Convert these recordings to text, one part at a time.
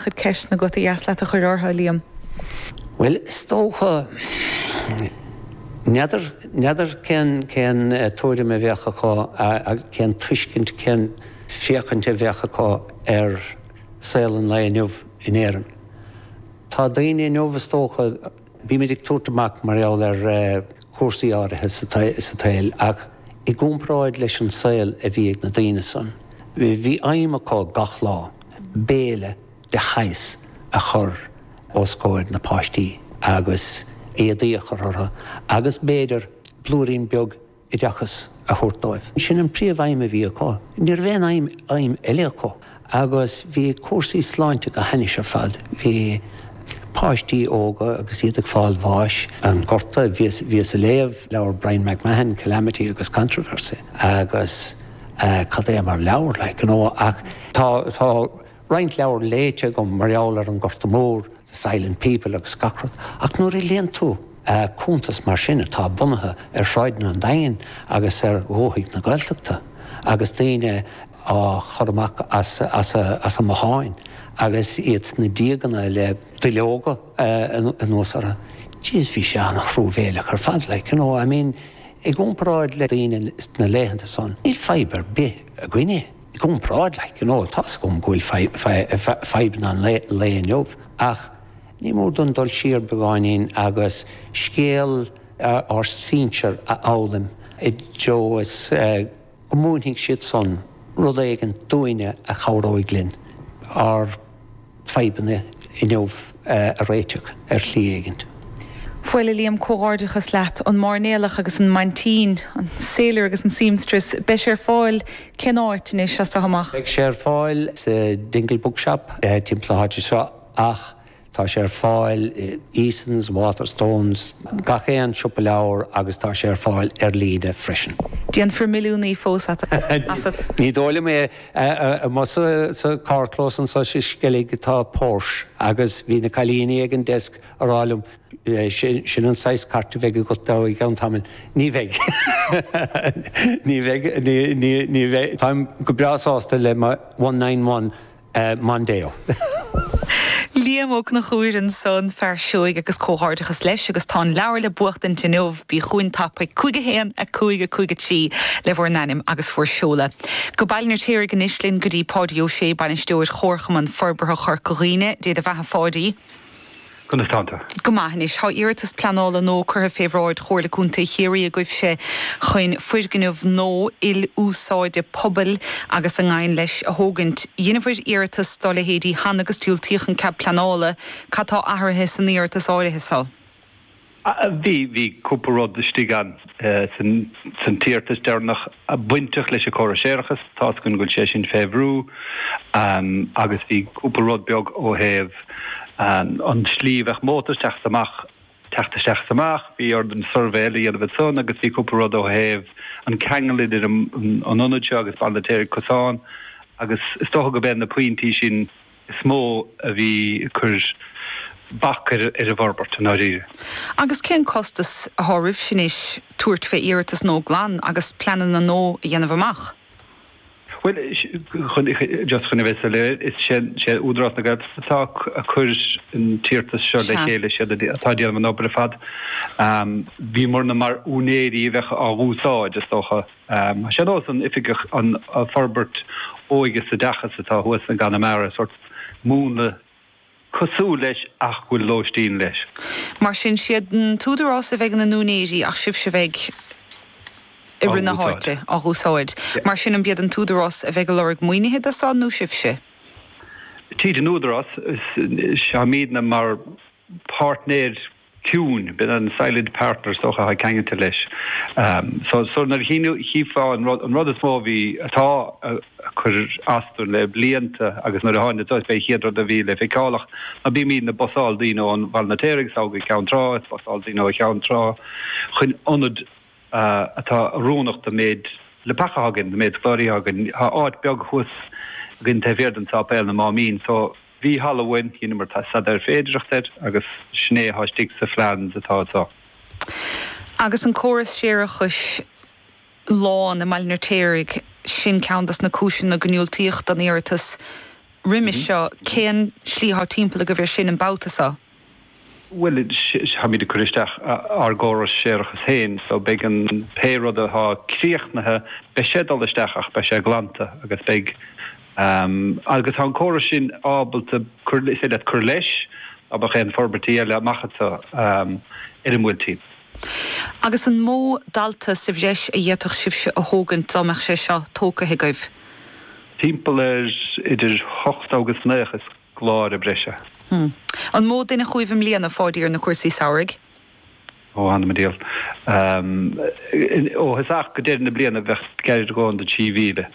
Chuid ceisteanna agat ar dheas leat a chur orthu, a Liam? Bhuel, is dócha, n'fheadar, n'fheadar cén, cén tuairim a bheadh acu, cén tuiscint, cén féachaint a bheadh acu ar saol an lae inniu in Éirinn. Tá daoine inniu, is dócha, bímid ag tabhairt amach mar gheall ar chúrsaí áirithe sa tsaol ach i gcomparáid leis an saol a bhí ag na daoine san, bhí aidhm acu gach lá. béile de shaghas a chur os comhair na páistí agus éadaí a chur orthu agus b'fhéidir blúirín beag oideachas a thabhairt dóibh. Sin an príomh-aidhm a bhí acu. Ní raibh aon aidhm, aidhm eile acu. Agus bhí cúrsaí sláinte go hainnis ar fad. Bhí páistí óga agus iad ag fáil bháis, an Gorta, bhíos, bhíos ag léamh leabhar Bryan MacMahon, Calamity agus Controversy, agus. cad é mar leabhar, like, you know, ach tá, tá roinnt leabhar léite agam mar gheall ar an Gorta Mór, The Silent People agus gach rud, ach nuair a léann tú cuntas mar sin atá bunaithe ar shráideanna an Daingin agus ar dhúthaigh na Gaeltachta agus daoine á chur amach as, as a, as a mbotháin agus iad sna díoganna le duilleoga anuas orthu, jeez, bhí sé an-truamhéileach ar fad, like, you know, I mean, I gcomparáid le daoine sna laethanta san, níl fadhb ar bith againne. I gcomparáid, like, you know, tá's agam go bhfuil fadhbanna an lae inniu, ach ní mór dúinn dul siar beagáinín agus scéal ár sinsear a fhoghlaim i dtreo is go múinfidh siad san rud éigin dúinne a chabhróidh linn ár fadhbanna inniu a réiteach ar shlí éigint. Bhuel, a Liam, comhghairdeachas leat. An Mairnéalach agus an Maintín, an Sailor agus an Seamstress, beidh sé ar fáil cén áit anois as seo amach? Beidh sé ar fáil sa Dingle Bookshop timpeall na háite seo ach tá sé ar fáil i Easons, Waterstones, gach aon siopa leabhar agus tá sé ar fáil ar líne freisin. Déanfar milliúnaí fós asat. Ní dóigh liom é. Amuigh sa carrchlós anseo sa Sceilg tá Porsche agus bhí na cailíní ag an desk a rá liom, sin an saghas cairt a bheidh agat i gceann tamaill. Ní bheidh. Ní bheidh, ní bheidh. Táim go breá sásta le mo 191 Mondeo. Liam Ó Conchúir ansan, fear seoigh agus comhghairdeachas leis agus tá an leabhar le buachtaint inniu, bí chugainn tapaidh, 5 1 5 5 3 le bhur n-ainm agus bhur seoladh. Go Baile an Fheirtéaraigh anois linn go dtí Páidí Ó Sé, Bainisteoir Chomharchumann Forbartha Chorca Dhuibhne. Dé do bheatha Pháidí. Conas tánn tú? Go maith anois. Tá iarratas pleanála nua curtha fé bhráid Chomhairle Contae Chiarraí agaibhse chun foirgneamh nua il-úsáide pobail agus a ngabhann leis a thógaint. Dheineabhair iarratas dá leithéidí cheana agus diúltaíodh an cead pleanála. Cad tá athraithe san iarratas áirithe so? Bhí, bhí cúpla rud istigh ann san t-iarratas deireanach bainteach leis an córas séarachais. Tá's againn go bhfuil sé sin fé bhrú agus bhí cúpla rud beag ó thaobh an tslí a bheadh mótar teacht amach, teacht isteach is amach, bhí orainn suirbhé eile a dhéanamh ansan agus bhí cúpla rud ó thaobh an ceangal idir an ionad seo agus Baile an Fheirtéaraigh cosán agus is dócha go b'é na pointí sin is mó a bhí ag cur bac ar an bhforbairt i ndáiríre. Agus cén costas athá roimhse anois tabhairt fé iarratas nua glan agus pleananna nua a dhéanamh amach? Bhuel, just chun a bheith soiléir, is sé Údarás na Gaeltachta atá ag cur an t-iarratas seo le chéile, siad atá ag déanamh an obair ar fad. Bhíomarna mar úinéirí a bheadh á dh'úsáid, is dócha. Tá sé ar nós an oifig an forbairt óige is oideachas atá thuas i gConamara, sórt múnla cosúil leis ach go bhfuil lóistín leis. Mar sin, siad an t-údarás a bheidh ina n-úinéirí ach sibhse a bheidh i rith na háite á dh'úsáid. Mar sin, an b'iad an t-údarás a bheidh ag lorg maoinithe do san nó sibhse? Tríd an údarás, táimidne mar páirtnéir ciúin, b'in an silent partner is dócha atá ceangailte leis. So, so nuair a chífeá an rud, an rud is mó a bhí, atá ag cur as dúinn le blianta agus nuair a tháinig seo, b'é an chéad rud a bhí le feiceáil ach ná bímidne ag busáil daoine ón Bhaile an Fheirtéaraigh go Ceann Trá, is busáil daoine ó Cheann Trá chun ionad atá oiriúnach don méid leapacha atá againn, don méid scoláirí atá againn. Tá áit beag thuas againn taobh thiar den sáipéal, na Máimín, so Bhí halla uainn, dheineamar staidéar féidireachta air agus sin é atá istigh sa phleans atá anseo. Agus an córas séarachais lán i mBaile an Fheirtéaraigh, sin ceann dos na cúiseanna go ndiúltaíodh don iarratas. roimis seo, cén slí atá timpeall agaibh ar sin an babhta seo? Bhuel, táimid ag cur isteach ár gcóras séarachais féin, so beidh an, pé rud atá críochnaithe, beidh sé ag dul isteach ach beidh sé glanta agus beidh, agus tá an córas sin ábalta cur, is féidir leat cur leis dá mbeadh aon forbairtí eile amach anseo ar an mBuailtín. Agus an mó dalta sa bhreis a d'fhéadfadh sibhse a thógaint dá mbeadh sé seo tógtha agaibh? Timpeall ar idir 80 agus 90 scoláire breise. An mó duine chugaibh i mbliana, a Pháidí, ar na cúrsaí samhraidh? Ó, th'anam 'on diabhal. Ó thosach go deireadh na bliana bheadh gar a dhóthain do 3,000.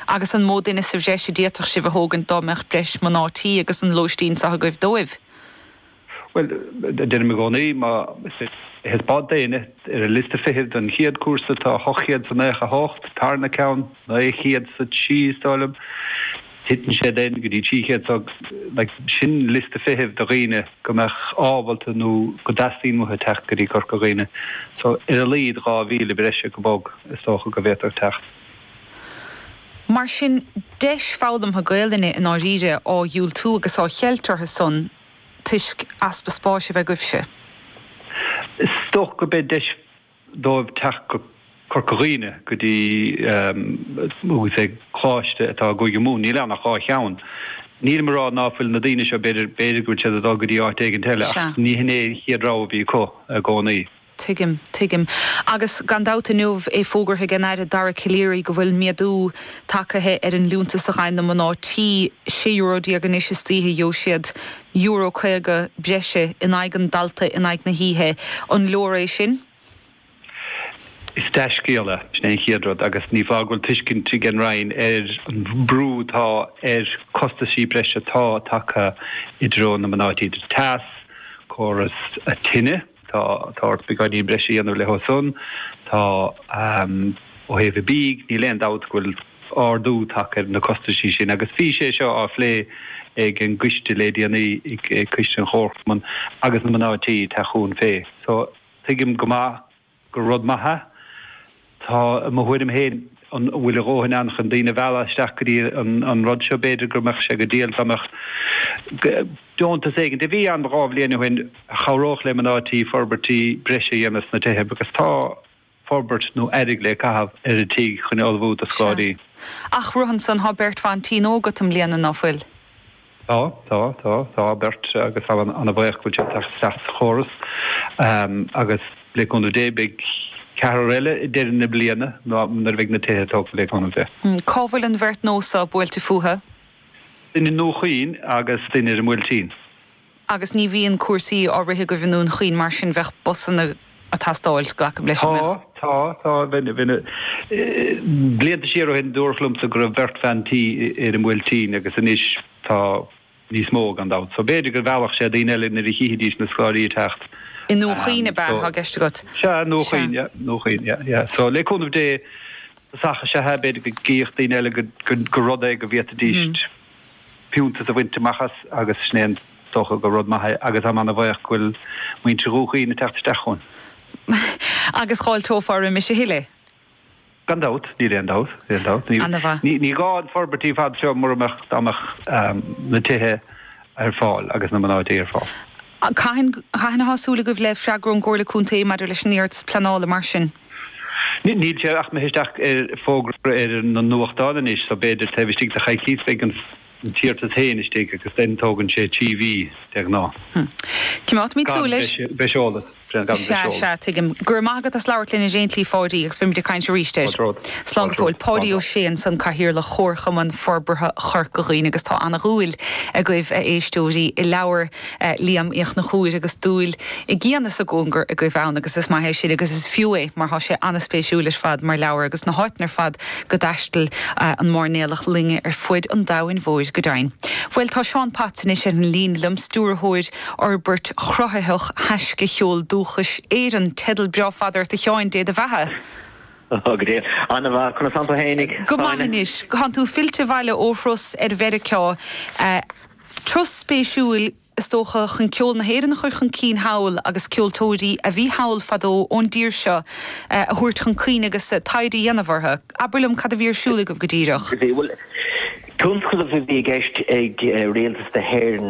Agus an mó duine sa bhreis a d'fhéadfadh sibh a thógaint dá mbeadh breis mná tí agus an lóistín seo agaibh dóibh? Bhuel, deirim i gcónaí, má is bád daoine ar an liosta feithimh don chéad cúrsa tá 898, tarna ceann, 903 is dóigh liom, titeann sé then go dtí 300 so like sin liosta feithimh do dhaoine go mbeadh ábalta nó go dteastaíonn uathu teacht go dtí Corca Dhuibhne. So ar a laghad 2,000 breise go bog is dócha go bhféadfadh teacht. Mar sin, deis foghlamtha Gaelainne i ndáiríre á dhiúltú agus á cheilt orthu san toisc easpa spáis a bheith agaibhse. Is dócha go mbeidh deis dóibh teacht go Corca Dhuibhne, go dtí agus é coláiste atá i gCúige Mumhan. Níl ann ach 2 cheann. Nílim ag rá ná fuil na daoine seo, b'fhéidir, b'fhéidir go bhfuil siad ag dul go dtí áit éigint eile ach ní hin é an chéad rogha a bhí acu i gcónaí. Tuigim, tuigim. Agus gan dabht inniu é fógartha ag an Aire Dara Calleary go bhfuil méadú tagtha ar an liúntas a fhaigheann na mná tí, €16 euro anois istoíche, gheobhaidh siad euro 50 breise in aghaidh an dalta in aghaidh na hoíche. An leor é sin? Is dea-scéal é, sin é an chéad rud, agus ní foláir go bhfuil tuiscint ag an Roinn ar an mbrú atá ar costaisí breise atá tagtha i dtreo na mná tí, idir teas, córas tine. Tá tá ort beagáinín breise a dhéanamh leo san. Tá ó thaobh an bídh, níl aon dabht go bhfuil ardú tagtha ar na costaisí sin agus bhí sé seo á phlé ag an gcoiste le déanaí, ag coiste an Chomharchumainn agus na mná tí ag teacht chugainn fé. So tuigim go maith gur rud maith é. Tá, i mo thuairim féin, an bhfuil a dhóthain ann chun daoine a mhealladh isteach go dtí an rud seo? B'fhéidir go mbeadh sé go diail dá mbeadh deontas éigin, a bhí ann 2 bhliain ó shin, a chabhródh le mná tí forbairtí breise a dhéanamh sna tithe agus tá forbairt nó airgead le caitheamh ar an tigh chun ullmhú do scoláirí. Ach rud ansan, tá beirt bhean tí nua agat i mbliana, ná fuil? Tá, tá, tá, tá beirt agus táim ana-bhaoch go bhfuil siad ag teacht isteach sa chóras agus le cúnamh Dé beidh ceathrar eile i deireadh na bliana nuair a bheidh na tithe tógtha le cúnamh Dé. Cá bhfuil an bheirt nua so buailte fúthu? Duine i nDún Chaoin agus duine ar an mBuailtín. Agus ní bhíonn cúrsaí á rith agaibh i nDún Chaoin mar sin bheadh busanna ag teastáil, glacaim leis, an mbeadh? Tá, tá, tá. Bheinn, blianta siar ó shin dúradh liomsa go raibh beirt bhean tí ar an mBuailtín agus anois tá níos mó gan dabht. So b'fhéidir go mheallfadh sé daoine eile nuair a chífidís na scoláirí ag teacht. I nDún Chaoin ab ea atá i gceist agat? Sea, i nDún Chaoin, yeah, Dún Chaoin, yeah, yeah. So le cúnamh Dé, tosach is ea é, b'fhéidir go gcífeadh daoine eile gur rud é go bhféadfaidís fiúntas a bhaint amach as agus sin é an dócha gur rud maith é agus táim ana-bhaoch go bhfuil muintir Dhún Chaoin ag teacht isteach chugainn. Agus dh'fháilteofá roimis a thuilleadh? Gan dabht, níl aon dabht, níl aon dabht. Ana-mhaith. Ní gá an forbairt ar fad seo mura mbeadh, dá mbeadh na tithe ar fáil agus na mná tí ar fáil. Cathain, cathain atá súil agaibh le freagra ón gComhairle Contae maidir leis an iarratas pleanála mar sin? Níl sé ach imithe isteach ar fógra ar na nuachtáin anois so b'fhéidir taobh istigh de choicís beidh an t-iarratas féin istigh agus then tógann sé 3 mhí de ghnáth. Coimeádfaimid súil air. Gan breis eolas. Gan breis Sea, eolas. sea, tuigim. Go raibh maith agat as labhairt linn ar aon tslí, Pháidí, agus beimid ag caint arís air. Fáilte romhat. Slán go fóill. Páidí Ó Sé ansan, Cathaoirleach Chomharchumann Forbartha Chorca Dhuibhne agus tá ana-dhúil agaibh, a éisteoirí, i leabhar Liam Uí Chonchúir agus dúil i gcian is i gcóngar agaibh ann agus is maith é sin agus is fiú é mar tá sé an-spéisiúil ar fad mar leabhar agus na háiteanna ar fad go dtaistil an mairnéalach loinge ar fuid an domhain mhóir go deimhin. Bhuel tá Seán Potts anois ar an líne liom, Stiúrthóir Fhorbairt Chruthaitheach Thaisce Cheol Dúchais Éireann. Teideal breá fada ort a Sheáin, Dé do bheatha! Go deo. Ana-mhaith. Conas tánn tú fhéinig? Go maith anois. Tánn tú fillte abhaile ó thuras ar Mheiriceá. Turas spéisiúil, is dócha, chun ceol na hÉireann a chur chun cinn thall agus ceoltóirí a bhí thall fadó ón dtír seo a thabhairt chun cuimhne agus taighde a dhéanamh orthu. Abair liom cad a bhí ar siúl agaibh go díreach? Bhuel, Tionscnamh a bhí i gceist ag Rialtas na hÉireann.